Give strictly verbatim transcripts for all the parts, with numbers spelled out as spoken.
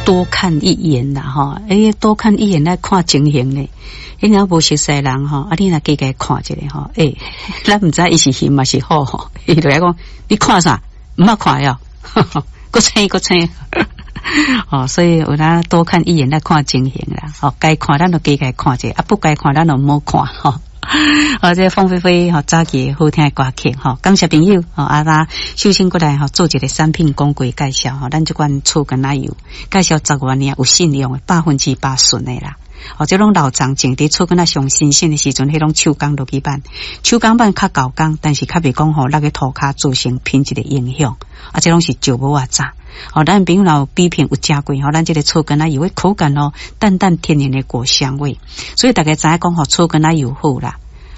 多看一眼啦，吼，欸，多看一眼來看情形咧。你若無熟似人吼，啊，你若加共看一下吼，欸，咱毋知伊是熊抑是虎吼，伊就來講，你看啥？毋捌看喲，閣青閣青。哦，所以有當多看一眼來看情形啦。吼，該看咱就加共看一下，啊，不該看咱就毋好看吼。好，這鳳飛飛吼早期好聽的歌曲吼，感謝朋友吼，啊，咱首先過來吼做一個產品廣告介紹吼，咱這款草柑仔油介紹十外年有信用的百分之百純的啦。哦，這攏老欉種佇草柑仔上新鮮的時陣，彼攏手工落去挽，手工挽較厚工，但是較袂講吼，落去塗跤造成品質的影響。啊，這攏是石母仔榨。哦，咱朋友若有比拼有食過吼，咱這個草柑仔油的口感哦，淡淡天然的果香味，所以大家知影講吼，草柑仔油好啦。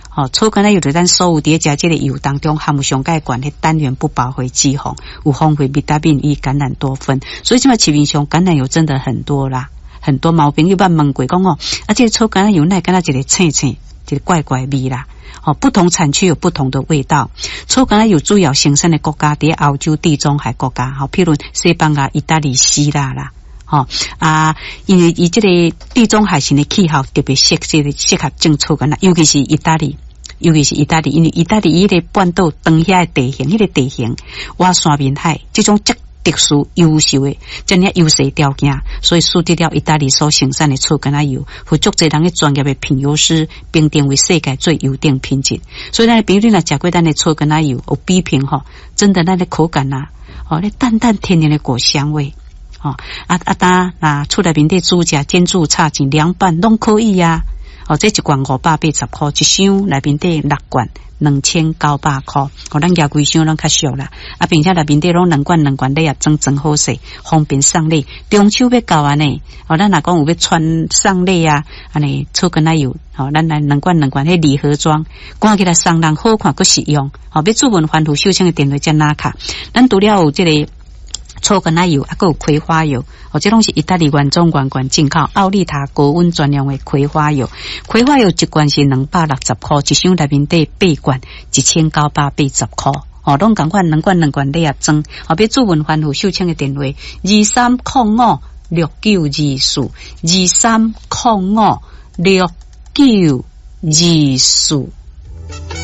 吼，草柑仔油佇咱所有佇咧食這个油當中含有上蓋懸的單元不飽和脂肪，有豐富維他命 E、橄欖多酚，所以這擺市面上橄欖油真的很多啦。很多毛朋友捌問過講哦，啊，這個草柑仔油哪會敢若一个青青，一个怪怪味啦。哦，不同產區有不同的味道。草柑仔油主要生產的國家佇歐洲地中海國家，吼，譬如西班牙、意大利、希臘啦，吼啊，因為伊這个地中海型的氣候特別適這个適合種草柑仔，尤其是意大利，尤其是意大利，因為意大利伊个半島長遐的地形，彼個地形倚三面海，這種遮特殊優秀的遮爾優勢條件，所以使得了意大利所生產的草柑仔油，予足濟人的專業的品油師評定為世界最優等品質。所以咱的朋友你若食過咱的草柑仔油，有比評吼，真的咱的口感啊，哦，咧淡淡天然的果香味，吼啊啊當若厝內面底煮食、煎煮炒煎涼拌攏可以啊。哦，這一罐五百八十箍，一箱內面底六罐。兩千九百箍，哦，咱舉幾箱攏較俗啦。啊，並且內面底攏兩罐兩罐禮盒裝裝好勢，方便送禮。中秋欲到按呢，哦，咱若講有欲傳送禮啊，按呢草柑仔油，吼，咱來兩罐兩罐彼禮盒裝，看起來送人好看，閣實用。吼，欲諮問番予秀清的電話才拿卡。咱除了有這个草柑仔油，啊，閣有葵花油，哦，這攏是意大利原裝原罐進口，奧利塔高溫專用的葵花油。葵花油一罐是兩百六十箍，一箱內面底八罐，一千九百八十箍。哦，攏仝款兩罐兩罐禮盒裝。哦，欲諮問番予秀清的電話：二三空五六九二四，二三空五六九二四。